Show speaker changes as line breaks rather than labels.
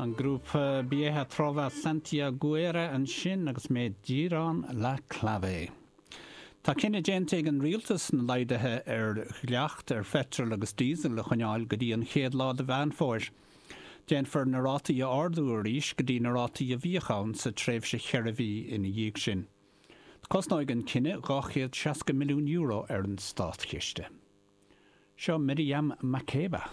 An grúpa Vieja Trova Santiaguera ansin agus Me Dieron La Clave. Tá cinneadh déanta ag an rialtas na laghduithe ar dhleacht ar pheitreal agus díosal a choinneáil go dtí an chéad lá de Mheán Fómhair. Déanfar na rátaí a ardú arís go dtí na rátaí a bhíodh ann sa tréimhse cheithre mhí ina dhiaidh sin. Cosnóidh an cinneadh €260 milliún ar an státchiste. Seo Miriam Makeba.